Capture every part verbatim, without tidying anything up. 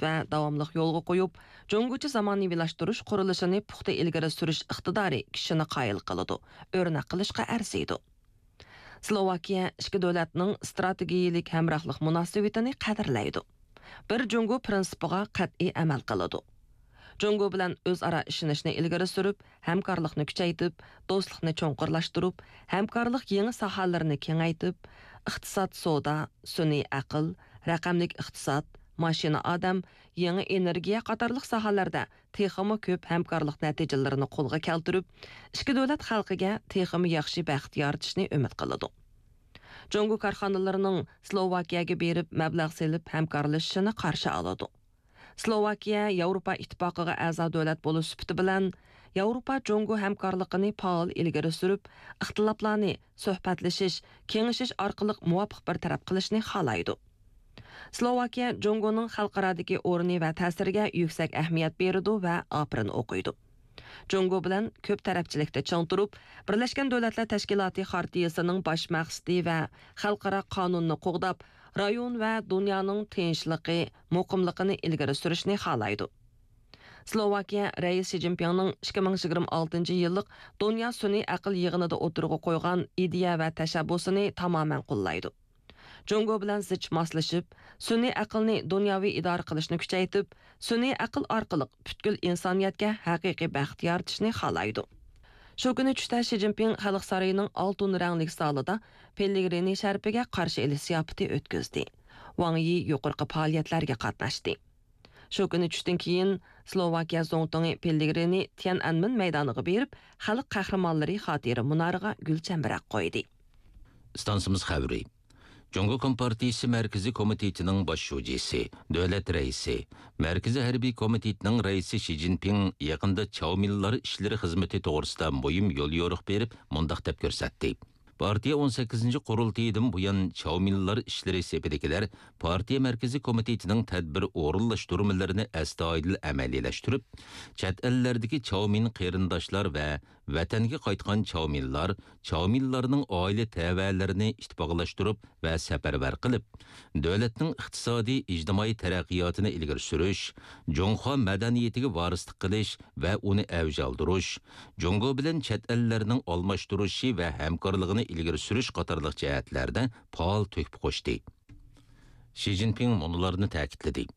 ۋە داۋاملىق يولغا قويۇپ، جۇڭگوچە زامانىۋىلاشتۇرۇش قۇرۇلۇشىنى پۇختا ئىلگىرى سۈرۈش ئىقتىدارى كىشىنى قايىل قىلىدۇ، ئۆرنەك قىلىشقا ئەرزىيدۇ. سلوۋاكىيە ئىككى دۆلەتنىڭ ئىستراتېگىيىلىك ھەمراھلىق مۇناسىۋىتىنى قەدىرلەيدۇ، بىر جۇڭگو پىرىنسىپىغا قەتئىي ئەمەل قىلىدۇ. جۇڭگو بىلەن ئۆزئارا ئىشىنىشنى ئىلگىرى سۈرۈپ، ھەمكارلىقنى كۈچەيتىپ، دوستلۇقنى چوڭقۇرلاشتۇرۇپ، ھەمكارلىق يېڭى ساھەلىرىنى كېڭەيتىپ، ئىقتىساد، سودا، سۈنئىي ئەقىل، رەقەملىك ئىقتىساد، ماشىنا ئادەم، يېڭى ئېنېرگىيە قاتارلىق ساھەلەردە تېخىمۇ كۆپ ھەمكارلىق نەتىجىلىرىنى قولغا كەلتۈرۈپ، ئىككى دۆلەت خەلقىگە تېخىمۇ ياخشى بەخت يارىتىشنى ئۈمىد قىلىدۇ. جۇڭگو كارخانىلىرىنىڭ سلوۋاكىيەگە بېرىپ مەبلەغ سېلىپ ھەمكارلىشىشىنى قارشى ئالىدۇ. سلوۋاكىيە ياۋروپا ئىتتىپاقىغا ئەزا دۆلەت بولۇش سۈپىتى بىلەن، ياۋروپا جۇڭگو ھەمكارلىقىنى پائال ئىلگىرى سۈرۈپ، ئىختىلاپلارنى سۆھبەتلىشىش، كېڭىشىش ئارقىلىق مۇۋاپىق بىر تەرەپ قىلىشنى خالايدۇ. سلوۋاكىيە جۇڭگونىڭ خەلقئارادىكى ئورنى ۋە تەسىرىگە يۈكسەك ئەھمىيەت بېرىدۇ ۋە ئاپىرىن ئوقۇيدۇ. جۇڭگو بىلەن كۆپ تەرەپچىلىكتە چىڭ تۇرۇپ، بىرلەشكەن دۆلەتلەر تەشكىلاتى خارتىيىسىنىڭ باش مەقسىتى ۋە خەلقئارا قانۇننى قوغداپ، رايون ۋە دۇنيانىڭ تىنچلىقى، مۇقىملىقىنى ئىلگىرى سۈرۈشنى خالايدۇ. سلوۋاكىيە رەئىسى شى جىنپىڭنىڭ ئىككى مىڭ يىگىرمە ئالتىنچى يىللىق دۇنيا سۈنئىي ئەقىل يىغىنىدا ئوتتۇرىغا قويغان ئىدىيە ۋە تەشەببۇسىنى تامامەن قوللايدۇ. جۇڭگو بىلەن زىچ ماسلىشىپ، سۈنئىي ئەقىلنى دۇنياۋى ئىدارە قىلىشنى كۈچەيتىپ، سۈنئىي ئەقىل ئارقىلىق پۈتكۈل ئىنسانىيەتكە ھەقىقىي بەخت يارىتىشنى خالايدۇ. شۇ كۈنى چۈشتە شى جىنپىڭ خەلق سارىيىنىڭ ئالتۇن رەڭلىك زالىدا پېللېگرىنى شەرىپىگە قارشى ئېلىش زىياپىتى ئۆتكۈزدى. ۋاڭ يى يۇقىرىقى پائالىيەتلەرگە قاتناشتى. شۇ كۈنى چۈشتىن كېيىن، سلوۋاكىيە زۇڭتۇڭى پېللېگرىنى تيەنئەنمېن مەيدانىغا بېرىپ، خەلق قەھرىمانلىرى خاتىرە مۇنارىغا گۈل چەمبىرەك قويدى. ئىستانسىمىز خەۋىرى. جۇڭگو كومپارتىيىسى مەركىزىي كومىتېتىنىڭ باش شۇجىسى، دۆلەت رەئىسى، مەركىزىي ھەربىي كومىتېتنىڭ رەئىسى شى جىنپىڭ يېقىندا چاۋمىنلار ئىشلىرى خىزمىتى توغرىسىدا مۇھىم يوليورۇق بېرىپ، مۇنداق دەپ كۆرسەتتى. پارتىيە ئون سەككىزىنچى قۇرۇلتىيىدىن بۇيان چاۋمىنلار ئىشلىرى سېپىدىكىلەر پارتىيە مەركىزىي كومىتېتىنىڭ تەدبىر ئورۇنلاشتۇرمىلىرىنى ئەستايىدىل ئەمەلىيلەشتۈرۈپ، چەت ئەللەردىكى چاۋمىن قېرىنداشلار ۋە ۋەتەنگە قايتقان چاۋمىنلار، چاۋمىنلارنىڭ ئائىلە تەۋەلىرىنى ئىتتىپاقلاشتۇرۇپ ۋە سەپەرۋەر قىلىپ، دۆلەتنىڭ ئىقتىسادىي، ئىجتىمائىي تەرەققىياتىنى ئىلگىرى سۈرۈش، جۇڭخۇا مەدەنىيىتىگە ۋارىسلىق قىلىش ۋە ئۇنى ئەۋج ئالدۇرۇش، جۇڭگو بىلەن چەت ئەللەرنىڭ ئالماشتۇرۇشى ۋە ھەمكارلىقىنى ئىلگىرى سۈرۈش قاتارلىق جەھەتلەردە پائال تۆھپە قوشتى. شى جىنپىڭ مۇنۇلارنى تەكىتلىدى.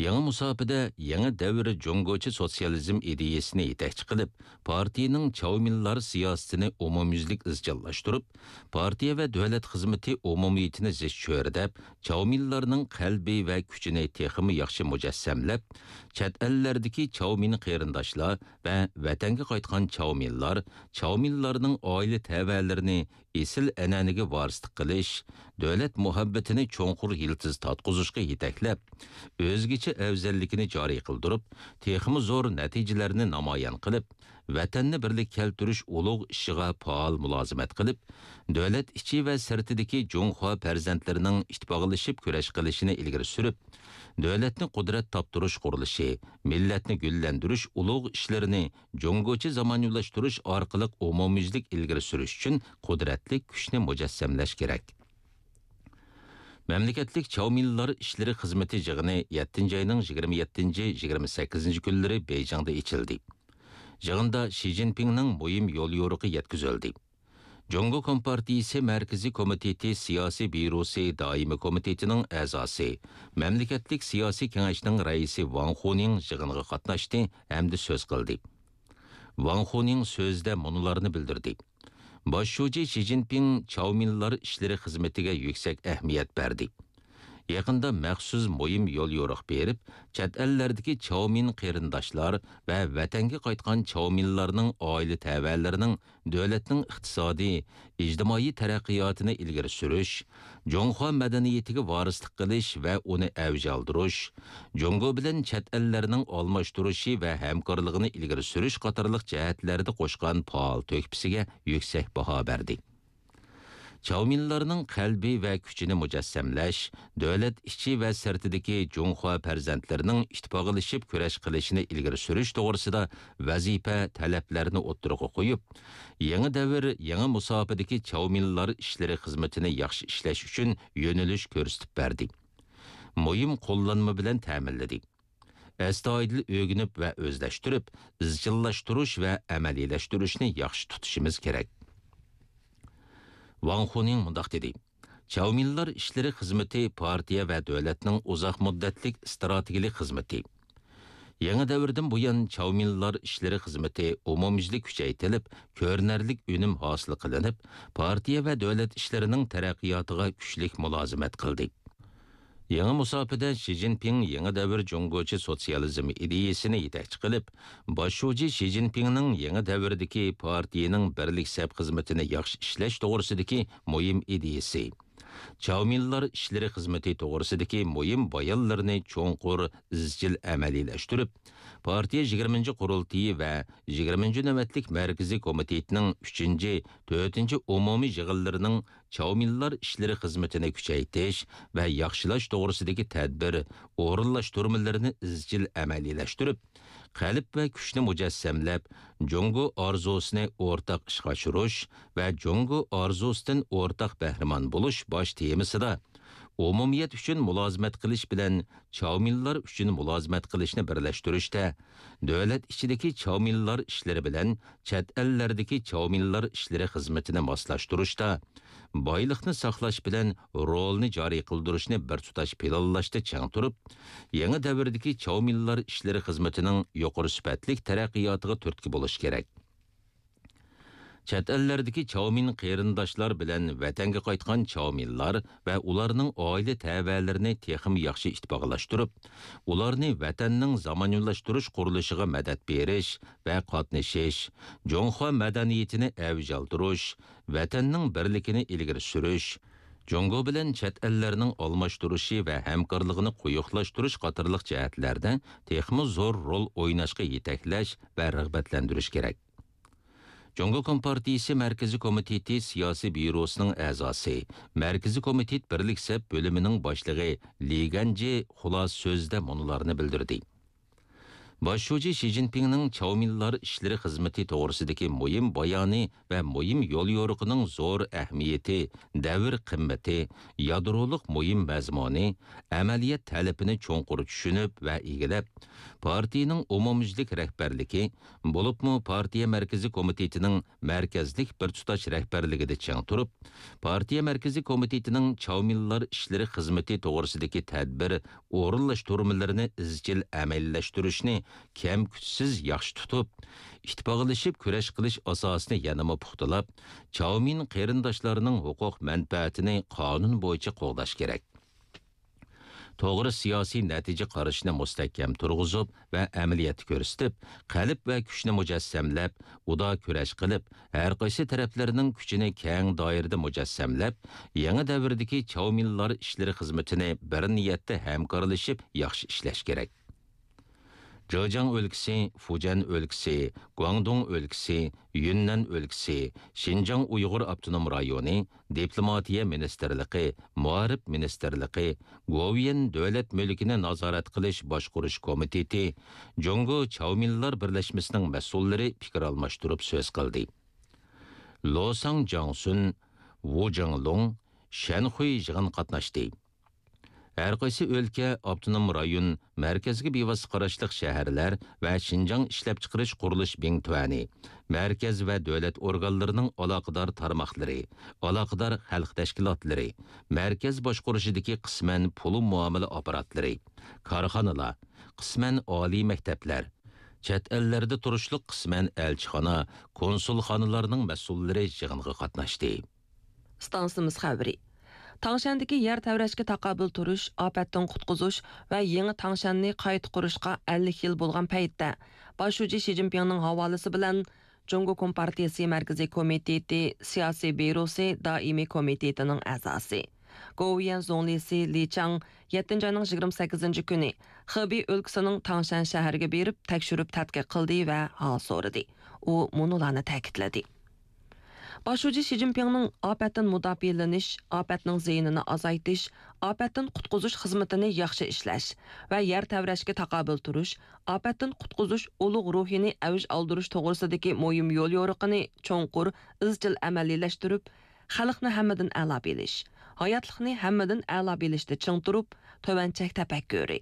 يېڭى مۇساپىدە يېڭى دەۋر جۇڭگوچە سوتسىيالىزم ئىدىيەسىنى يېتەكچى قىلىپ، پارتىيىنىڭ چاۋمىنلار سىياسىتىنى ئومۇميۈزلۈك ئىزچىللاشتۇرۇپ، پارتىيە ۋە دۆلەت خىزمىتى ئومۇمىيىتىنى زىچ چۆرىدەپ، چاۋمىنلارنىڭ قەلبى ۋە كۈچىنى تېخىمۇ ياخشى مۇجەسسەملەپ، چەت ئەللەردىكى چاۋمىن قېرىنداشلار ۋە ۋەتەنگە قايتقان چاۋمىنلار، چاۋمىنلارنىڭ ئائىلە تەۋەلىرىنى ئېسىل ئەنئەنىگە ۋارىسلىق قىلىش، دۆلەت مۇھەببىتىنى چوڭقۇر يىلتىز تارتقۇزۇشقا يېتەكلەپ، ئۆزگىچە ئەۋزەللىكىنى جارى قىلدۇرۇپ، تېخىمۇ زور نەتىجىلەرنى نامايان قىلىپ، ۋەتەننى بىرلىككە كەلتۈرۈش ئۇلۇغ ئىشىغا پائال مۇلازىمەت قىلىپ، دۆلەت ئىچى ۋە سىرتىدىكى جۇڭخۇا پەرزەنتلىرىنىڭ ئىتتىپاقلىشىپ كۈرەش قىلىشىنى ئىلگىرى سۈرۈپ، دۆلەتنى قۇدرەت تاپتۇرۇش قۇرۇلۇشى، مىللەتنى گۈللەندۈرۈش ئۇلۇغ ئىشلىرىنى جۇڭگوچە زامانىۋىلاشتۇرۇش ئارقىلىق ئومۇميۈزلۈك ئىلگىرى سۈرۈش ئۈچۈن قۇدرەتلىك كۈچنى مۇجەسسەملەش كېرەك. مەملىكەتلىك چاۋمىنلار ئىشلىرى خىزمىتى يىغىنى يەتتىنچى ئاينىڭ يىگىرمە يەتتىنچى، يىگىرمە سەككىزىنچى كۈنلىرى بېيجىڭدا ئېچىلدى. يىغىندا شى جىنپىڭنىڭ مۇھىم يوليورۇقى يەتكۈزۈلدى. جۇڭگو كومپارتىيىسى مەركىزىي كومىتېتى سىياسىي بيۇروسى دائىمىي كومىتېتىنىڭ ئەزاسى، مەملىكەتلىك سىياسىي كېڭەشنىڭ رەئىسى ۋاڭ خۇنىڭ يىغىنغا قاتناشتى ھەمدە سۆز قىلدى. ۋاڭ خۇنىڭ سۆزىدە مۇنۇلارنى بىلدۈردى. باش شۇجى شى جىنپىڭ چاۋمىنلار ئىشلىرى خىزمىتىگە يۈكسەك ئەھمىيەت بەردى. يېقىندا مەخسۇس مۇھىم يوليورۇق بېرىپ، چەت ئەللەردىكى چاۋمىن قېرىنداشلار ۋە ۋەتەنگە قايتقان چاۋمىنلارنىڭ ئائىلە تەۋەلىرىنىڭ دۆلەتنىڭ ئىقتىسادىي، ئىجتىمائىي تەرەققىياتىنى ئىلگىرى سۈرۈش، جۇڭخۇا مەدەنىيىتىگە ۋارىسلىق قىلىش ۋە ئۇنى ئەۋج ئالدۇرۇش، جۇڭگو بىلەن چەت ئەللەرنىڭ ئالماشتۇرۇشى ۋە ھەمكارلىقىنى ئىلگىرى سۈرۈش قاتارلىق جەھەتلەردە قوشقان پائال تۆھپىسىگە يۈكسەك باھا بەردى. چاۋمىنلارنىڭ قەلبى ۋە كۈچىنى مۇجەسسەملەش، دۆلەت ئىچى ۋە سىرتىدىكى جۇڭخۇا پەرزەنتلىرىنىڭ ئىتتىپاقلىشىپ كۈرەش قىلىشىنى ئىلگىرى سۈرۈش توغرىسىدا ۋەزىپە تەلەپلەرنى ئوتتۇرىغا قويۇپ، يېڭى دەۋر، يېڭى مۇساپىدىكى چاۋمىنلار ئىشلىرى خىزمىتىنى ياخشى ئىشلەش ئۈچۈن يۆنىلىش كۆرسىتىپ بەردى. مۇھىم قوللانما بىلەن تەمىنلىدى. ئەستايىدىل ئۆگىنىپ ۋە ئۆزلەشتۈرۈپ، ئىزچىللاشتۇرۇش ۋە ئەمەلىيلەشتۈرۈشنى ياخشى تۇتۇشىمىز كېرەك. ۋاڭ خۇنىڭ مۇنداق دېدى: چاۋمىنلار ئىشلىرى خىزمىتى پارتىيە ۋە دۆلەتنىڭ ئۇزاق مۇددەتلىك ئىستراتېگىيەلىك خىزمىتى. يېڭى دەۋردىن بۇيان، چاۋمىنلار ئىشلىرى خىزمىتى ئومۇميۈزلۈك كۈچەيتىلىپ، كۆرۈنەرلىك ئۈنۈم ھاسىل قىلىنىپ، پارتىيە ۋە دۆلەت ئىشلىرىنىڭ تەرەققىياتىغا كۈچلۈك مۇلازىمەت قىلدى. يېڭى مۇساپىدە شى جىنپىڭ يېڭى دەۋر جۇڭگوچە سوتسىيالىزم ئىدىيىسىنى يېتەكچى قىلىپ، باش شۇجى شى جىنپىڭنىڭ يېڭى دەۋردىكى پارتىيىنىڭ بىرلىك سەپ خىزمىتىنى ياخشى ئىشلەش توغرىسىدىكى مۇھىم ئىدىيىسى، چاۋمىنلار ئىشلىرى خىزمىتى توغرىسىدىكى مۇھىم بايانلىرىنى چوڭقۇر، ئىزچىل ئەمەلىيلەشتۈرۈپ، پارتىيە يىگىرمىنچى قۇرۇلتىيى ۋە يىگىرمىنچى نۆۋەتلىك مەركىزىي كومىتېتنىڭ ئۈچىنچى، تۆتىنچى ئومۇمىي يىغىنلىرىنىڭ چاۋمىنلار ئىشلىرى خىزمىتىنى كۈچەيتىش ۋە ياخشىلاش توغرىسىدىكى تەدبىر ئورۇنلاشتۇرمىلىرىنى ئىزچىل ئەمەلىيلەشتۈرۈپ، قەلب ۋە كۈچنى مۇجەسسەملەپ، جۇڭگو ئارزۇسىنى ئورتاق ئىشقا ئاشۇرۇش ۋە جۇڭگو ئارزۇسىدىن ئورتاق بەھرىمەن بولۇش باش تېمىسىدا، ئومۇمىيەت ئۈچۈن مۇلازىمەت قىلىش بىلەن چاۋمىنلار ئۈچۈن مۇلازىمەت قىلىشنى بىرلەشتۈرۈشتە، دۆلەت ئىچىدىكى چاۋمىنلار ئىشلىرى بىلەن چەت ئەللەردىكى چاۋمىنلار ئىشلىرى خىزمىتىنى ماسلاشتۇرۇشتا، بايلىقنى ساقلاش بىلەن رولنى جارى قىلدۇرۇشنى بىر تۇتاش پىلانلاشتا چىڭ تۇرۇپ، يېڭى دەۋردىكى چاۋمىنلار ئىشلىرى خىزمىتىنىڭ يۇقىرى سۈپەتلىك تەرەققىياتىغا تۈرتكە بولۇش كېرەك. چەت ئەللەردىكى چاۋمىن قېرىنداشلار بىلەن ۋەتەنگە قايتقان چاۋمىنلار ۋە ئۇلارنىڭ ئائىلە تەۋەلىرىنى تېخىمۇ ياخشى ئىتتىپاقلاشتۇرۇپ، ئۇلارنى ۋەتەننىڭ زامانىۋىلاشتۇرۇش قۇرۇلۇشىغا مەدەت بېرىش ۋە قاتنىشىش، جۇڭخۇا مەدەنىيىتىنى ئەۋج ئالدۇرۇش، ۋەتەننىڭ بىرلىكىنى ئىلگىرى سۈرۈش، جۇڭگو بىلەن چەت ئەللەرنىڭ ئالماشتۇرۇشى ۋە ھەمكارلىقىنى قويۇقلاشتۇرۇش قاتارلىق جەھەتلەردە تېخىمۇ زور رول ئويناشقا يېتەكلەش ۋە رىغبەتلەندۈرۈش كېرەك. جۇڭگو كومپارتىيىسى مەركىزىي كومىتېتى سىياسىي بيۇروسىنىڭ ئەزاسى، مەركىزىي كومىتېت بىرلىك سەپ بۆلۈمىنىڭ باشلىقى لى گەنجى خۇلاسە سۆزىدە مۇنۇلارنى بىلدۈردى. باش شۇجى شى جىنپىڭنىڭ چاۋمىنلار ئىشلىرى خىزمىتى توغرىسىدىكى مۇھىم بايانى ۋە مۇھىم يوليورۇقىنىڭ زور ئەھمىيىتى، دەۋر قىممىتى، يادرولۇق مۇھىم مەزمۇنى، ئەمەلىيەت تەلىپىنى چوڭقۇر چۈشىنىپ ۋە ئىگىلەپ، پارتىيىنىڭ ئومۇميۈزلۈك رەھبەرلىكى، بولۇپمۇ پارتىيە مەركىزىي كومىتېتىنىڭ مەركەزلىك بىر تۇتاش رەھبەرلىكىدە چىڭ تۇرۇپ، پارتىيە مەركىزىي كومىتېتىنىڭ چاۋمىنلار ئىشلىرى خىزمىتى توغرىسىدىكى تەدبىر ئورۇنلاشتۇرمىلىرىنى ئىزچىل ئەمەلىيلەشتۈرۈشنى كەم-كۈتسىز ياخشى تۇتۇپ، ئىتتىپاقلىشىپ كۈرەش قىلىش ئاساسىنى يەنىمۇ پۇختىلاپ، چاۋمىن قېرىنداشلارنىڭ ھوقۇق مەنپەئەتىنى قانۇن بويىچە قوغداش كېرەك. توغرا سىياسىي نەتىجە قارىشىنى مۇستەھكەم تۇرغۇزۇپ ۋە ئەمەلىيەتتە كۆرسىتىپ، قەلب ۋە كۈچنى مۇجەسسەملەپ، ئۇدا كۈرەش قىلىپ، ھەر قايسى تەرەپلەرنىڭ كۈچىنى كەڭ دائىرىدە مۇجەسسەملەپ، يېڭى دەۋردىكى چاۋمىنلار ئىشلىرى خىزمىتىنى بىر نىيەتتە ھەمكارلىشىپ ياخشى ئىشلەش كېرەك. جېجياڭ ئۆلكىسى، فۇجيەن ئۆلكىسى، گۇاڭدۇڭ ئۆلكىسى، يۈننەن ئۆلكىسى، شىنجاڭ ئۇيغۇر ئاپتونوم رايونى، دىپلوماتىيە مىنىستىرلىقى، مائارىپ مىنىستىرلىقى، گوۋۇيۈەن دۆلەت مۈلكىنى نازارەت قىلىش باشقۇرۇش كومىتېتى، جۇڭگو چاۋمىنلار بىرلەشمىسىنىڭ مەسئۇللىرى پىكىر ئالماشتۇرۇپ سۆز قىلدى. لوساڭ جاڭسۈن، ۋۇ جىڭلۇڭ، شەن خۇي يىغىنغا قاتناشتى. ھەر قايسى ئۆلكە، ئاپتونوم رايون، مەركەزگە بىۋاسىتە قاراشلىق شەھەرلەر ۋە شىنجاڭ ئىشلەپچىقىرىش قۇرۇلۇش بىڭتۈەنى، مەركەز ۋە دۆلەت ئورگانلىرىنىڭ ئالاقىدار تارماقلىرى، ئالاقىدار خەلق تەشكىلاتلىرى، مەركەز باشقۇرۇشىدىكى قىسمەن پۇل مۇئامىلە ئاپپاراتلىرى، كارخانىلار، قىسمەن ئالىي مەكتەپلەر، چەت ئەللەردە تۇرۇشلۇق قىسمەن ئەلچىخانا، كونسۇلخانىلارنىڭ مەسئۇللىرى يىغىنغا قاتناشتى. ئىستانسىمىز خەۋىرى. تاڭشەندىكى يەر تەۋرەشكە تاقابىل تۇرۇش، ئاپەتتىن قۇتقۇزۇش ۋە يېڭى تاڭشەننى قايتا قۇرۇشقا ئەللىك يىل بولغان پەيتتە، باش شۇجى شى جىنپىڭنىڭ ھاۋالىسى بىلەن جۇڭگو كومپارتىيىسى مەركىزىي كومىتېتى سىياسىي بيۇروسى دائىمىي كومىتېتىنىڭ ئەزاسى، گوۋۇيۈەن زۇڭلىسى لى چاڭ يەتتىنچى ئاينىڭ يىگىرمە سەككىزىنچى كۈنى خېبېي ئۆلكىسىنىڭ تاڭشەن شەھىرىگە بېرىپ تەكشۈرۈپ تەتقىق قىلدى ۋە ھال سورىدى. ئۇ مۇنۇلارنى تەكىتلىدى. باش شۇجى شى جىنپىڭنىڭ ئاپەتتىن مۇداپىئەلىنىش، ئاپەتنىڭ زىيىنىنى ئازايتىش، ئاپەتتىن قۇتقۇزۇش خىزمىتىنى ياخشى ئىشلەش ۋە يەر تەۋرەشكە تاقابىل تۇرۇش، ئاپەتتىن قۇتقۇزۇش ئۇلۇغ روھىنى ئەۋج ئالدۇرۇش توغرىسىدىكى مۇھىم يوليورۇقىنى چوڭقۇر، ئىزچىل ئەمەلىيلەشتۈرۈپ، خەلقنى ھەممىدىن ئەلا بىلىش، ھاياتلىقنى ھەممىدىن ئەلا بىلىشتە چىڭ تۇرۇپ، تۆۋەن چەك تەپەككۇرى.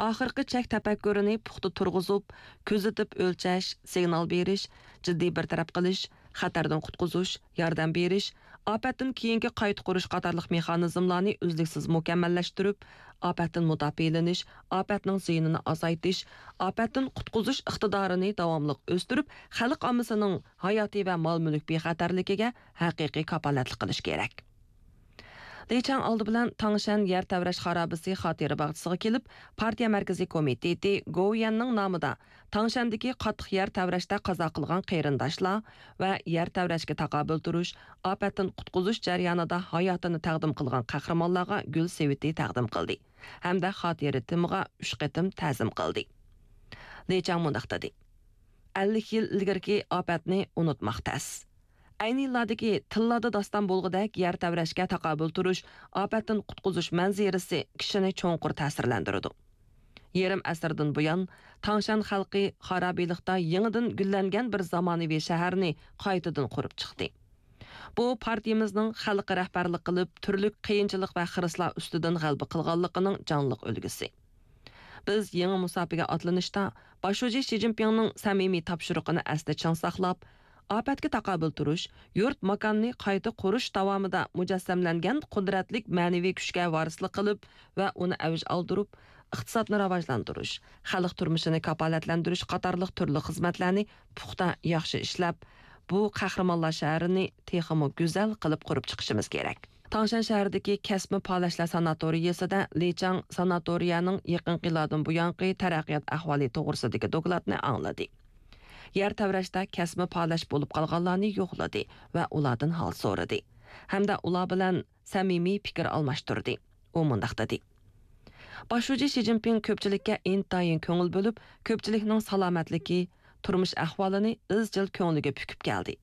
ئاخىرقى چەك تەپەككۇرىنى پۇختا تۇرغۇزۇپ، كۆزىتىپ ئۆلچەش، سىگنال بېرىش، جىددىي بىر تەرەپ قىلىش، خەتەردىن قۇتقۇزۇش، ياردەم بېرىش، ئاپەتتىن كېيىنكى قايتا قۇرۇش قاتارلىق مېخانىزملارنى ئۈزلۈكسىز مۇكەممەللەشتۈرۈپ، ئاپەتتىن مۇداپىئەلىنىش، ئاپەتنىڭ زىيىنىنى ئازايتىش، ئاپەتتىن قۇتقۇزۇش ئىقتىدارىنى داۋاملىق ئۆستۈرۈپ، خەلق ئاممىسىنىڭ ھاياتى ۋە مال-مۈلۈك بىخەتەرلىكىگە ھەقىقىي كاپالەتلىك قىلىش كېرەك. لى چاڭ ئالدى بىلەن تاڭشەن يەر تەۋرەش خارابىسى خاتىرە باغچىسىغا كېلىپ، پارتىيە مەركىزىي كومىتېتى گوۋۇيۈەننىڭ نامىدا تاڭشەندىكى قاتتىق يەر تەۋرەشتە قازا قىلغان قېرىنداشلار ۋە يەر تەۋرەشكە تاقابىل تۇرۇش، ئاپەتتىن قۇتقۇزۇش جەريانىدا ھاياتىنى تەقدىم قىلغان قەھرىمانلارغا گۈل سېۋىتى تەقدىم قىلدى ھەمدە خاتىرە تېمىغا ئۈچ قېتىم تەزىم قىلدى. لى چاڭ مۇنداق دېدى: ئەللىك يىل ئىلگىرىكى ئاپەتنى ئۇنتۇماق تەس. ئەينى يىللاردىكى تىللاردا داستان بولغۇدەك يەر تەۋرەشكە تاقابىل تۇرۇش، ئاپەتتىن قۇتقۇزۇش مەنزىرىسى كىشىنى چوڭقۇر تەسىرلەندۈرىدۇ. يېرىم ئەسىردىن بۇيان، تاڭشەن خەلقى خارابىلىقتا يېڭىدىن گۈللەنگەن بىر زامانىۋى شەھەرنى قايتىدىن قۇرۇپ چىقتى. بۇ پارتىيىمىزنىڭ خەلققە رەھبەرلىك قىلىپ، تۈرلۈك قىيىنچىلىق ۋە خىرىسلار ئۈستىدىن غەلىبە قىلغانلىقىنىڭ جانلىق ئۈلگىسى. بىز يېڭى مۇساپىگە ئاتلىنىشتا، باش شۇجى شى جىنپىڭنىڭ سەمىمىي تاپشۇرۇقىنى ئەستە چىڭ ساقلاپ، ئاپەتكە تاقابىل تۇرۇش، يۇرت ماكاننى قايتا قۇرۇش داۋامىدا مۇجەسسەملەنگەن قۇدرەتلىك مەنىۋى كۈچكە ۋارىسلىق قىلىپ ۋە ئۇنى ئەۋج ئالدۇرۇپ، ئىقتىسادنى راۋاجلاندۇرۇش، خەلق تۇرمۇشىنى كاپالەتلەندۈرۈش قاتارلىق تۈرلۈك خىزمەتلەرنى پۇختا، ياخشى ئىشلەپ، بۇ قەھرىمانلار شەھىرىنى تېخىمۇ گۈزەل قىلىپ قۇرۇپ چىقىشىمىز كېرەك. تاڭشەن شەھىرىدىكى كەسپىي پالەچلەر ساناتورىيىسىدە لى چاڭ ساناتورىيەنىڭ يېقىنقى يىللاردىن بۇيانقى تەرەققىيات ئەھۋالى توغرىسىدىكى دوكلاتنى ئاڭلىدى. يەر تەۋرەشتە كەسپىي پالەچ بولۇپ قالغانلارنى يوقلىدى ۋە ئۇلاردىن ھال سورىدى ھەمدە ئۇلار بىلەن سەمىمىي پىكىر ئالماشتۇردى. ئۇ مۇنداق دېدى: باش شۇجى شى جىنپىڭ كۆپچىلىككە ئىنتايىن كۆڭۈل بۆلۈپ، كۆپچىلىكنىڭ سالامەتلىكى، تۇرمۇش ئەھۋالىنى ئىزچىل كۆڭلىگە پۈكۈپ كەلدى.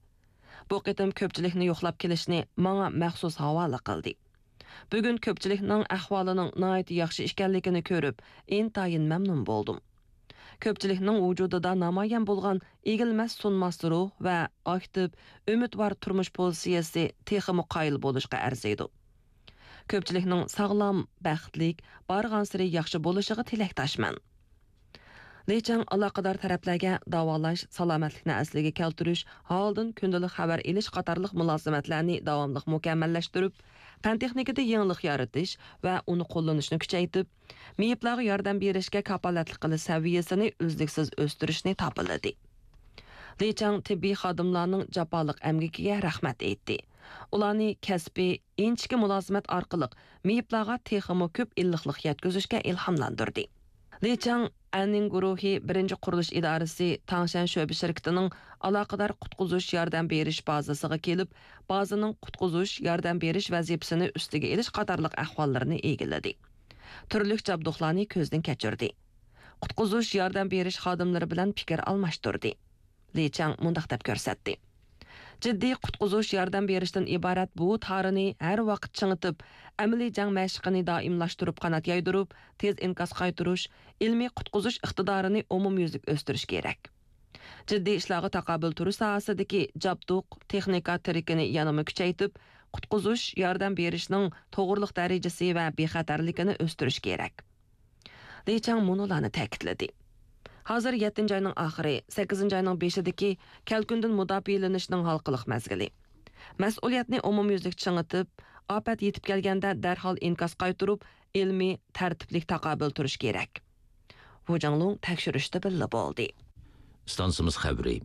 بۇ قېتىم كۆپچىلىكنى يوقلاپ كېلىشنى ماڭا مەخسۇس ھاۋالە قىلدى. بۈگۈن كۆپچىلىكنىڭ ئەھۋالىنىڭ ناھايىتى ياخشى ئىكەنلىكىنى كۆرۈپ، ئىنتايىن مەمنۇن بولدۇم. كۆپچىلىكنىڭ ۋۇجۇدىدا نامايان بولغان ئېگىلمەس سۇنماس روھ ۋە ئاكتىپ، ئۈمىدۋار تۇرمۇش پوزىتسىيەسى تېخىمۇ قايىل بولۇشقا ئەرزىيدۇ. كۆپچىلىكنىڭ ساغلام، بەختلىك، بارغانسېرى ياخشى بولۇشىغا تىلەكداشمەن. لى چاڭ ئالاقىدار تەرەپلەرگە داۋالاش، سالامەتلىكنى ئەسلىگە كەلتۈرۈش، ھالدىن كۈندىلىك خەۋەر ئېلىش قاتارلىق مۇلازىمەتلەرنى داۋاملىق مۇكەممەللەشتۈرۈپ، پەن-تېخنىكىدا يېڭىلىق يارىتىش ۋە ئۇنى قوللىنىشنى كۈچەيتىپ، مېيىپلارغا ياردەم بېرىشكە كاپالەتلىك قىلىش سەۋىيەسىنى ئۈزلۈكسىز ئۆستۈرۈشنى تاپىلىدى. لى چاڭ تېببىي خادىملارنىڭ جاپالىق ئەمگىكىگە رەھمەت ئېيتتى. ئۇلارنى كەسپىي، ئىنچىكە مۇلازىمەت ئارقىلىق مېيىپلارغا تېخىمۇ كۆپ ئىللىقلىق يەتكۈزۈشكە ئىلھاملاندۇردى. لى چاڭ ئەننىڭ گۇرۇھى بىرىنچى قۇرۇلۇش ئىدارىسى تاڭشەن شۆبە شىركىتىنىڭ ئالاقىدار قۇتقۇزۇش ياردەم بېرىش بازىسىغا كېلىپ، بازىنىڭ قۇتقۇزۇش ياردەم بېرىش ۋەزىپىسىنى ئۈستىگە ئېلىش قاتارلىق ئەھۋاللىرىنى ئىگىلىدى. تۈرلۈك جابدۇقلارنى كۆزدىن كەچۈردى. قۇتقۇزۇش ياردەم بېرىش خادىملىرى بىلەن پىكىر ئالماشتۇردى. لى چاڭ مۇنداق دەپ كۆرسەتتى: جىددىي قۇتقۇزۇش ياردەم بېرىشتىن ئىبارەت بۇ تارىنى ھەر ۋاقىت چىڭىتىپ، ئەمەلىي جەڭ مەشىقىنى دائىملاشتۇرۇپ قانات يايدۇرۇپ، تېز ئىنكاس قايتۇرۇش، ئىلمىي قۇتقۇزۇش ئىقتىدارىنى ئومۇميۈزلۈك ئۆستۈرۈش كېرەك. جىددىي ئىشلارغا تاقابىل تۇرۇش ساھەسىدىكى جابدۇق، تېخنىكا تىرىكىنى يەنىمۇ كۈچەيتىپ، قۇتقۇزۇش ياردەم بېرىشنىڭ توغرىلىق دەرىجىسى ۋە بىخەتەرلىكىنى ئۆستۈرۈش كېرەك. لى چاڭ مۇنۇلارنى تەكىتلىدى: ھازىر يەتتىنچى ئاينىڭ ئاخىرى، سەككىزىنچى ئاينىڭ بېشىدىكى كەلكۈندىن مۇداپىئەلىنىشنىڭ ھالقىلىق مەزگىلى. مەسئۇلىيەتنى ئومۇميۈزلۈك چىڭىتىپ، ئاپەت يېتىپ كەلگەندە دەرھال ئىنكاس قايتۇرۇپ، ئىلمىي، تەرتىپلىك تاقابىل تۇرۇش كېرەك. ۋۇ جاڭلۇڭ تەكشۈرۈشتە بىللە بولدى. ئىستانسىمىز خەۋىرى.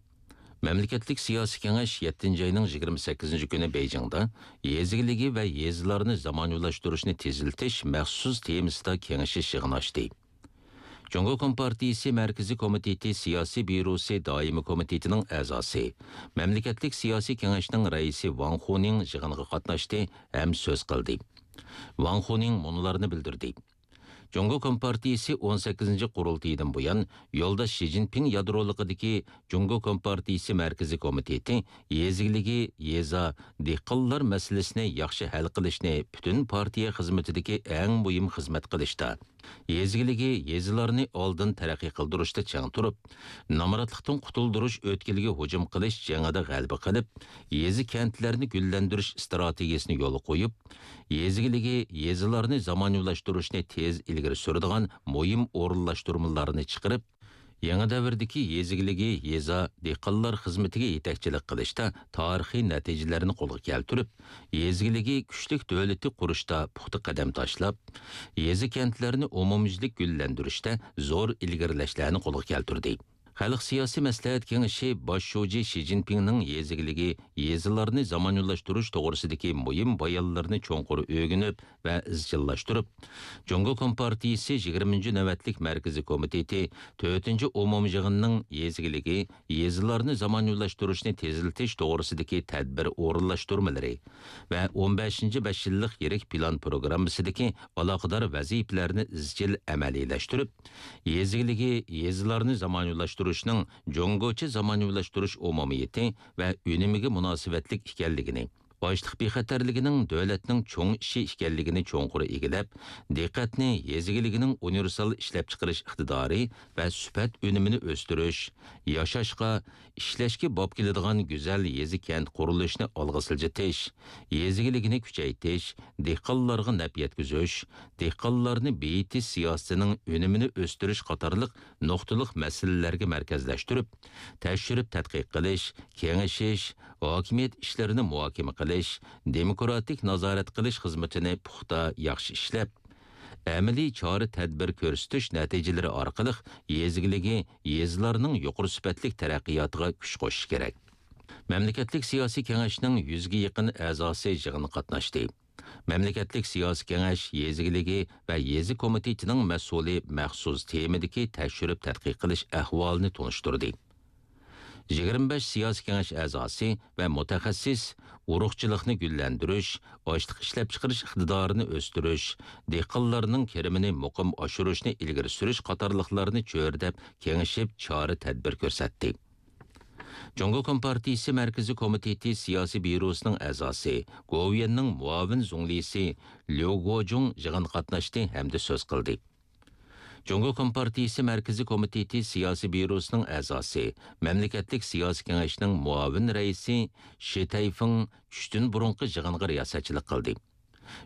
مەملىكەتلىك سىياسىي كېڭەش يەتتىنچى ئاينىڭ يىگىرمە سەككىزىنچى كۈنى بېيجىڭدا يېزا ئىگىلىكى ۋە يېزىلارنى زامانىۋىلاشتۇرۇشنى تېزلىتىش مەخسۇس تېمىسىدا كېڭىشىش يىغىنى ئاچتى. جۇڭگو كومپارتىيىسى مەركىزىي كومىتېتى سىياسىي بيۇروسى دائىمىي كومىتېتىنىڭ ئەزاسى، مەملىكەتلىك سىياسىي كېڭەشنىڭ رەئىسى ۋاڭ خۇنىڭ يىغىنغا قاتناشتى ھەم سۆز قىلدى. ۋاڭ خۇنىڭ مۇنۇلارنى بىلدۈردى. جۇڭگو كومپارتىيىسى ئون سەككىزىنچى قۇرۇلتىيىدىن بۇيان، يولداش شى جىنپىڭ يادرولۇقىدىكى جۇڭگو كومپارتىيىسى مەركىزىي كومىتېتى يېزا ئىگىلىكى، يېزا، دېھقانلار مەسىلىسىنى ياخشى ھەل قىلىشنى پۈتۈن پارتىيە خىزمىتىدىكى ئەڭ مۇھىم خىزمەت قىلىشتا، يېزا ئىگىلىكى يېزىلارنى ئالدىن تەرەققىي قىلدۇرۇشتا چىڭ تۇرۇپ، نامراتلىقتىن قۇتۇلدۇرۇش ئۆتكىلىگە ھۇجۇم قىلىش جېڭىدە غەلىبە قىلىپ، يېزا كەنتلەرنى گۈللەندۈرۈش ئىستراتېگىيەسىنى يولغا قويۇپ، يېزا ئىگىلىكى يېزىلارنى زامانىۋىلاشتۇرۇشنى تېز ئىلگىرى سۈرىدىغان مۇھىم ئورۇنلاشتۇرمىلارنى چىقىرىپ، يېڭى دەۋردىكى يېزا ئىگىلىكى يېزا دېھقانلار خىزمىتىگە يېتەكچىلىك قىلىشتا تارىخىي نەتىجىلەرنى قولغا كەلتۈرۈپ، يېزا ئىگىلىكى كۈچلۈك دۆلىتى قۇرۇشتا پۇختا قەدەم تاشلاپ، يېزا كەنتلەرنى ئومۇميۈزلۈك گۈللەندۈرۈشتە زور ئىلگىرىلەشلەرنى قولغا كەلتۈردى. خەلق سىياسىي مەسلىھەت كېڭىشى باش شۇجى شى جىنپىڭنىڭ يېزا ئىگىلىكى يېزىلارنى زامانىۋىلاشتۇرۇش توغرىسىدىكى مۇھىم بايانلىرىنى چوڭقۇر ئۆگىنىپ، ۋە ئىزچىللاشتۇرۇپ، جۇڭگو كومپارتىيىسى يىگىرمىنچى نۆۋەتلىك مەركىزىي كومىتېتى تۆتىنچى ئومۇميىغىنىنىڭ يېزا ئىگىلىكى يېزىلارنى زامانىۋىلاشتۇرۇشنى تېزلىتىش توغرىسىدىكى تەدبىر ئورۇنلاشتۇرمىلىرى ۋە ئون بەشىنچى بەش يىللىق يىرىك پىلان پروگراممىسىدىكى ئالاقىدار ۋەزىپىلەرنى ئىزچىل ئەمەلىيلەشتۈرۈپ، يېزا ئىگىلىكى يېزىلارنى زامانىۋىلاشتۇرۇشنىڭ جۇڭگوچە زامانىۋىلاشتۇرۇش ئومۇمىيىتى ۋە ئۈنۈمىگە مۇناسىۋەتلىك ئىكەنلىكىنى، ئاشلىق بىخەتەرلىكىنىڭ دۆلەتنىڭ چوڭ ئىشى ئىكەنلىكىنى چوڭقۇر ئىگىلەپ، دىققەتنى يېزا ئىگىلىكىنىڭ ئۇنىۋېرسال ئىشلەپچىقىرىش ئىقتىدارى ۋە سۈپەت ئۈنۈمىنى ئۆستۈرۈش، ياشاشقا، ئىشلەشكە باب كېلىدىغان گۈزەل يېزا كەنت قۇرۇلۇشىنى ئالغا سىلجىتىش، يېزا ئىگىلىكىنى كۈچەيتىش، دېھقانلارغا نەپ يەتكۈزۈش، دېھقانلارنى بېيىتىش سىياسىتىنىڭ ئۈنۈمىنى ئۆستۈرۈش قاتارلىق نۇقتىلىق مەسىلىلەرگە مەركەزلەشتۈرۈپ، تەكشۈرۈپ تەتقىق قىلىش، كېڭىشىش، ھاكىمىيەت ئىشلىرىنى مۇھاكىمە قىلىش، دېموكراتىك نازارەت قىلىش خىزمىتىنى پۇختا، ياخشى ئىشلەپ، ئەمەلىي چارە-تەدبىر كۆرسىتىش نەتىجىلىرى ئارقىلىق يېزا ئىگىلىكى يېزىلارنىڭ يۇقىرى سۈپەتلىك تەرەققىياتىغا كۈچ قوشۇشى كېرەك. مەملىكەتلىك سىياسىي كېڭەشنىڭ يۈزگە يېقىن ئەزاسى يىغىنغا قاتناشتى. مەملىكەتلىك سىياسىي كېڭەش يېزا ئىگىلىكى ۋە يېزا كومىتېتىنىڭ مەسئۇلى مەخسۇس تېمىدىكى تەكشۈرۈپ تەتقىق قىلىش ئەھۋالىنى تونۇشتۇردى. يىگىرمە بەش سىياسىي كېڭەش ئەزاسى ۋە مۇتەخەسسىس ئۇرۇقچىلىقنى گۈللەندۈرۈش، ئاشلىق ئىشلەپچىقىرىش ئىقتىدارىنى ئۆستۈرۈش، دېھقانلارنىڭ كىرىمىنى مۇقىم ئاشۇرۇشنى ئىلگىرى سۈرۈش قاتارلىقلارنى چۆرىدەپ كېڭىشىپ چارە-تەدبىر كۆرسەتتى. جۇڭگو كومپارتىيىسى مەركىزىي كومىتېتى سىياسىي بيۇروسىنىڭ ئەزاسى، گوۋۇيۈەننىڭ مۇئاۋىن زۇڭلىسى ليۇ گوجۇڭ يىغىنغا قاتناشتى ھەمدە سۆز قىلدى. جۇڭگو كومپارتىيىسى مەركىزىي كومىتېتى سىياسىي بيۇروسىنىڭ ئەزاسى، مەملىكەتلىك سىياسىي كېڭەشنىڭ مۇئاۋىن رەئىسى شى تەيفېڭ چۈشتىن بۇرۇنقى يىغىنغا رىياسەتچىلىك قىلدى.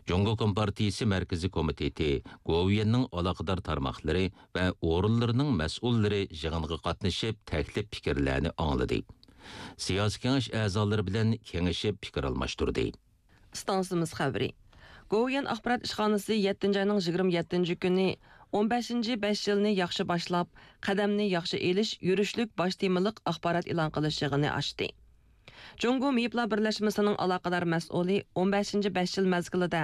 جۇڭگو كومپارتىيىسى مەركىزىي كومىتېتى، گوۋۇيۈەننىڭ ئالاقىدار تارماقلىرى ۋە ئورۇنلىرىنىڭ مەسئۇللىرى يىغىنغا قاتنىشىپ، تەكلىپ پىكىرلەرنى ئاڭلىدى. سىياسىي كېڭەش ئەزالىرى بىلەن كېڭىشىپ پىكىر ئالماشتۇردى. ئىستانسىمىز خەۋىرى. گوۋۇيۈەن ئاخبارات ئىشخانىسى يەتتىنچى ئاينىڭ يىگىرمە يەتتىنچى كۈنى ئون بەشىنچى بەش يىلنى ياخشى باشلاپ، قەدەمنى ياخشى ئېلىش يۈرۈشلۈك باش تېمىلىق ئاخبارات ئېلان قىلىش يىغىنى ئاچتى. جۇڭگو مېيىپلار بىرلەشمىسىنىڭ ئالاقىدار مەسئۇلى ئون بەشىنچى بەش يىل مەزگىلىدە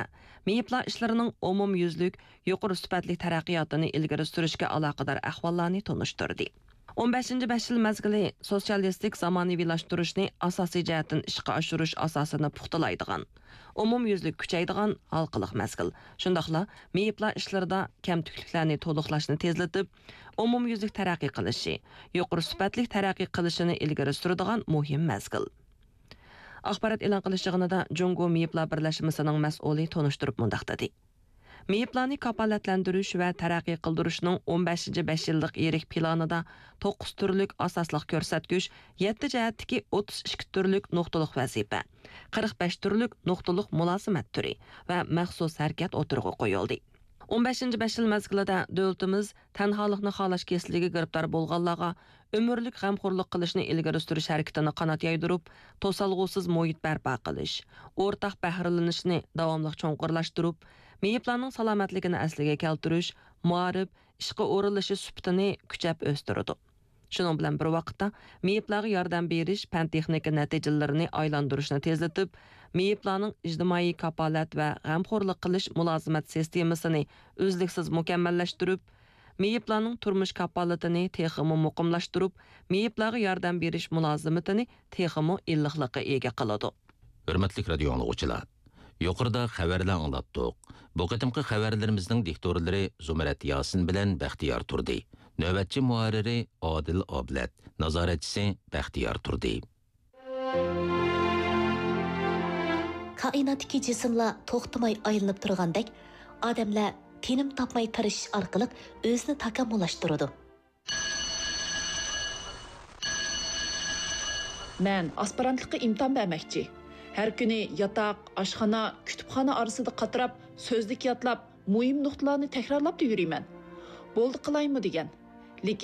مېيىپلار ئىشلىرىنىڭ ئومۇميۈزلۈك يۇقىرى سۈپەتلىك تەرەققىياتىنى ئىلگىرى سۈرۈشكە ئالاقىدار ئەھۋاللارنى تونۇشتۇردى. ئون بەشىنچى بەش يىل مەزگىلى سوتسىيالىستىك زامانىۋىلاشتۇرۇشنى ئاساسىي جەھەتتىن ئىشقا ئاشۇرۇش ئاساسىنى پۇختىلايدىغان، ئومۇميۈزلۈك كۈچەيدىغان ھالقىلىق مەزگىل. شۇنداقلا مېيىپلار ئىشلىرىدا كەمتۈكلۈكلەرنى تولۇقلاشنى تېزلىتىپ، ئومۇميۈزلۈك تەرەققىي قىلىشى، يۇقىرى سۈپەتلىك تەرەققىي قىلىشىنى ئىلگىرى سۈرىدىغان مۇھىم مەزگىل. ئاخبارات ئېلان قىلىش يىغىنىدا جۇڭگو مېيىپلار بىرلەشمىسىنىڭ مەسئۇلى تونۇشتۇرۇپ مۇنداق دېدى: مېيىپلارنى كاپالەتلەندۈرۈش ۋە تەرەققىي قىلدۇرۇشنىڭ ئون بەشىنچى بەش يىللىق يىرىك پىلانىدا توققۇز تۈرلۈك ئاساسلىق كۆرسەتكۈچ، يەتتە جەھەتتىكى ئوتتۇز ئىككى تۈرلۈك نۇقتىلىق ۋەزىپە، قىرىق بەش تۈرلۈك نۇقتىلىق مۇلازىمەت تۈرى ۋە مەخسۇس ھەرىكەت ئوتتۇرىغا قويۇلدى. ئون بەشىنچى بەش يىل مەزگىلىدە دۆلىتىمىز تەنھالىقنى خالاش كېسىلىگە گىرىپتار بولغانلارغا ئۆمۈرلۈك غەمخورلۇق قىلىشنى ئىلگىرى سۈرۈش ھەرىكىتىنى قانات يايدۇرۇپ، توسالغۇسىز مۇھىت بەرپا قىلىش، ئورتاق بەھرىلىنىشنى داۋاملىق چوڭقۇرلاشتۇرۇپ، مېيىپلارنىڭ سالامەتلىكىنى ئەسلىگە كەلتۈرۈش، مائارىپ، ئىشقا ئورۇنلىشىش سۈپىتىنى كۈچەپ ئۆستۈرىدۇ. شۇنىڭ بىلەن بىر ۋاقىتتا، مېيىپلارغا ياردەم بېرىش پەن-تېخنىكا نەتىجىلىرىنى ئايلاندۇرۇشنى تېزلىتىپ، مېيىپلارنىڭ ئىجتىمائىي كاپالەت ۋە غەمخورلۇق قىلىش مۇلازىمەت سىستېمىسىنى ئۈزلۈكسىز مۇكەممەللەشتۈرۈپ، مېيىپلارنىڭ تۇرمۇش كاپالىتىنى تېخىمۇ مۇقىملاشتۇرۇپ، مېيىپلارغا ياردەم بېرىش مۇلازىمىتىنى تېخىمۇ ئىللىقلىققا ئىگە قىلىدۇ. ھۆرمەتلىك رادىيو ئاڭلىغۇچىلار، يۇقىرىدا خەۋەرلەر ئاڭلاتتۇق. بۇ قېتىمقى خەۋەرلىرىمىزنىڭ دىكتورلىرى زۇمرەت ياسىن بىلەن بەختىيار تۇردى. نۆۋەتچى مۇھەررىرى ئادىل ئابلەت، نازارەتچىسى بەختىيار تۇردى. كائىناتتىكى جىسىملار توختىماي ئايلىنىپ تۇرغاندەك، ئادەملەر تىنىم تاپماي تىرىشىش ئارقىلىق ئۆزىنى تاكامۇللاشتۇرىدۇ. مەن ئاسپىرانتلىققا ئىمتىھان بەرمەكچى. ھەر كۈنى ياتاق، ئاشخانا، كۇتۇپخانا ئارىسىدا قاتراپ، سۆزلۈك يادلاپ، مۇھىم نۇقتىلارنى تەكرارلاپلا يۈرىمەن. بولدى قىلايمۇ دېگەن.